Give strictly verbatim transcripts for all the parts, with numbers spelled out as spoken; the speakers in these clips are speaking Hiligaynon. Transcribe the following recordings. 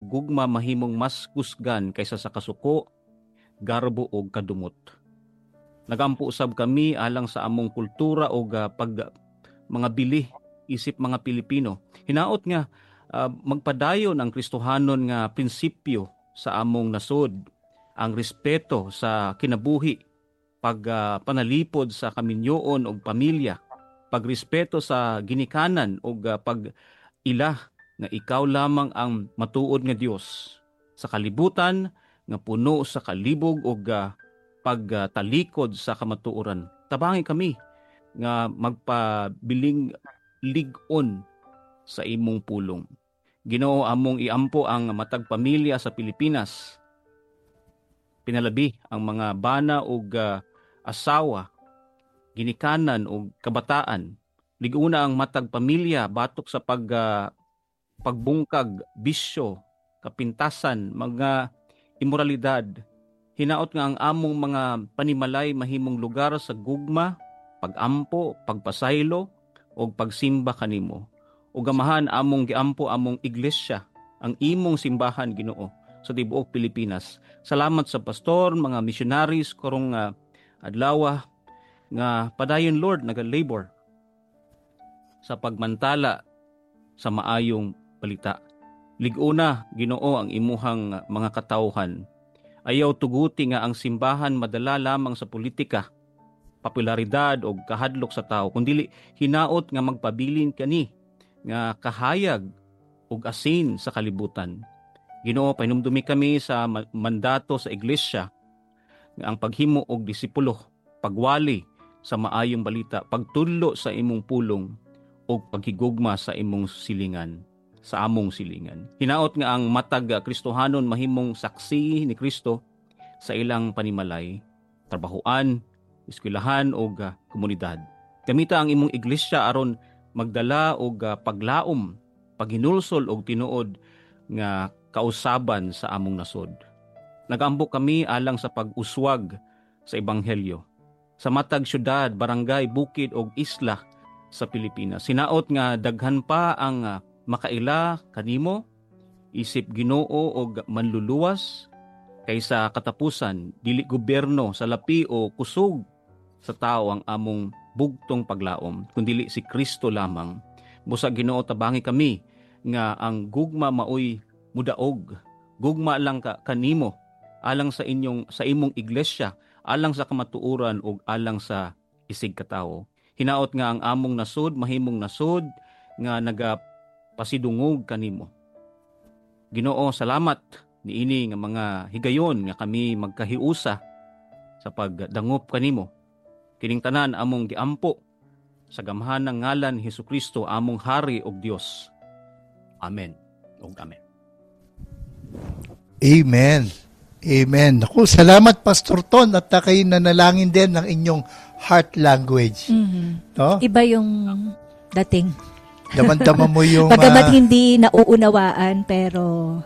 gugma mahimong mas kusgan kaysa sa kasuko, garbo, ug kadumot. Nagampo usab kami alang sa among kultura ug, ah, pag, mga bili isip mga Pilipino. Hinaot nga, ah, magpadayon ang Kristohanon nga prinsipyo sa among nasod, ang respeto sa kinabuhi, pag, ah, panalipod sa kaminyoon ug pamilya, pagrespeto sa ginikanan ug, ah, pag-ila nga ikaw lamang ang matuod nga Dios sa kalibutan nga puno sa kalibog ug, ah, pagtalikod sa kamatuoran. Tabangi kami nga magpabiling lig-on sa imong pulong. Ginoo, among iampo ang matag pamilya sa Pilipinas, pinalabi ang mga bana ug, ah, asawa, ginikanan ug kabataan. Lig-una ang matag pamilya batok sa pag, ah, pagbungkag, bisyo, kapintasan, mga imoralidad. Hinaot nga ang among mga panimalay mahimong lugar sa gugma, pag-ampo, pagpasaylo, ug pagsimba kanimo. Ug, Amahan, among giampo among iglesia, ang imong simbahan, Ginoo, sa tibuok Pilipinas. Salamat sa pastor, mga missionaries karong, ah, adlaw, nga padayon, Lord, naga-labor sa pagmantala sa maayong balita. Lig-una, Ginoo, ang imuhang mga katawhan. Ayaw tuguti nga ang simbahan madala lamang sa politika, popularidad, o kahadlok sa tawo, kundili hinaot nga magpabilin kani nga kahayag ug asin sa kalibutan. Ginoo, pahinumdumi kami sa ma-, mandato sa iglesia nga ang paghimo og disipulo, pagwali sa maayong balita, pagtudlo sa imong pulong, ug paghigugma sa imong silingan, sa among silingan. Hinaot nga ang matag Kristohanon mahimong saksi ni Kristo sa ilang panimalay, trabahoan, eskwelahan, ug, ah, komunidad. Gamita ang imong iglesia aron magdala og, ah, paglaom, paghinulsol, ug tinuod nga kausaban sa among nasod. Nagaampo kami alang sa pag-uswag sa ebanghelyo sa matag syudad, barangay, bukid, ug isla sa Pilipinas. Hinaot nga daghan pa ang, ah, makaila kanimo, isip Ginoo ug Manluluwas, kay sa katapusan, dili gobyerno, salapi, o kusog sa tawo ang among bugtong paglaom, kundili si Kristo lamang. Busa, Ginoo, tabangi kami nga ang gugma maoy mudaog. Gugma lang ka kanimo, alang sa inyong, sa imong iglesia, alang sa kamatuoran, ug alang sa isigkatawo. Hinaot nga ang among nasod mahimong nasod nga nagapasidungog kanimo. Ginoo, salamat niini nga mga higayon nga kami magkahiusa sa pagdangop kanimo. Kining tanan among giampo sa gamhanang ngalan ni Jesu-Cristo, among Hari ug Dios. Amen ug amen. Amen. Amen. Naku, salamat, Pastor Ton, at na kayo nanalangin din ng inyong heart language. Mhm. No? Iba yung dating. Damang-dama mo yung, Bagamat ah, hindi nauunawaan, pero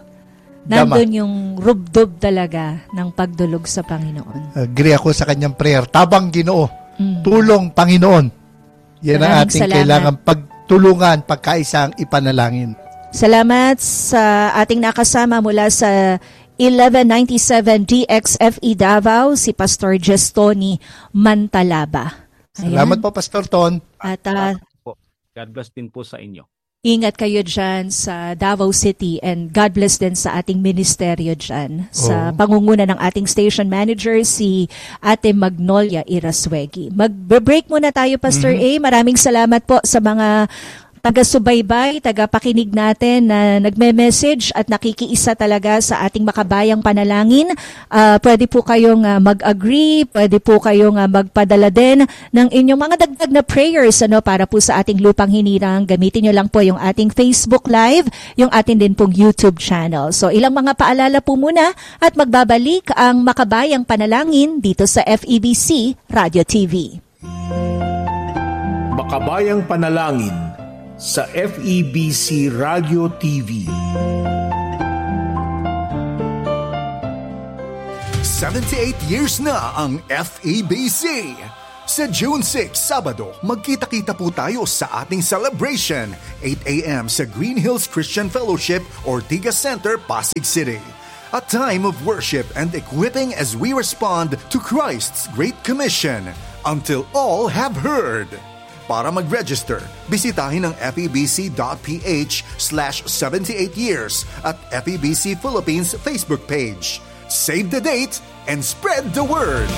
Dama. nandun yung rubdob talaga ng pagdulog sa Panginoon. Agree ako sa kanyang prayer. Tabang, Ginoo. Mm. Tulong, Panginoon. Yan ang Maraming ating salamat. kailangan pagtulungan, pagkaisa ang ipanalangin. Salamat sa ating nakasama mula sa eleven ninety-seven D X F E Davao, si Pastor Jestoni Mantalaba. Salamat Ayan. po, Pastor Ton. At, ah, Salamat po. God bless din po sa inyo. Ingat kayo dyan sa Davao City, and God bless din sa ating ministeryo dyan. Sa Oo. pangunguna ng ating station manager, si Ate Magnolia Irasuegi. Mag-break muna tayo, Pastor Mhm. A. Maraming salamat po sa mga taga-subaybay, tagapakinig natin na nagme-message at nakikiisa talaga sa ating makabayang panalangin. Ah, pwede po kayong, ah, mag-agree, pwede po kayong, ah, magpadala din ng inyong mga dagdag na prayers, ano, para po sa ating lupang hinirang. Gamitin nyo lang po yung ating Facebook Live, yung atin din pong YouTube channel. So, ilang mga paalala po muna at magbabalik ang makabayang panalangin dito sa F E B C Radio T V. Makabayang Panalangin sa F E B C Radio T V. Seventy-eight years na ang F E B C. Sa June six, Sabado, magkita-kita po tayo sa ating celebration, eight a.m. sa Green Hills Christian Fellowship, Ortigas Center, Pasig City. A time of worship and equipping as we respond to Christ's Great Commission, "Until all have heard." Para mag-register, bisitahin ang febc.ph/78 years at F E B C Philippines Facebook page. Save the date and spread the word!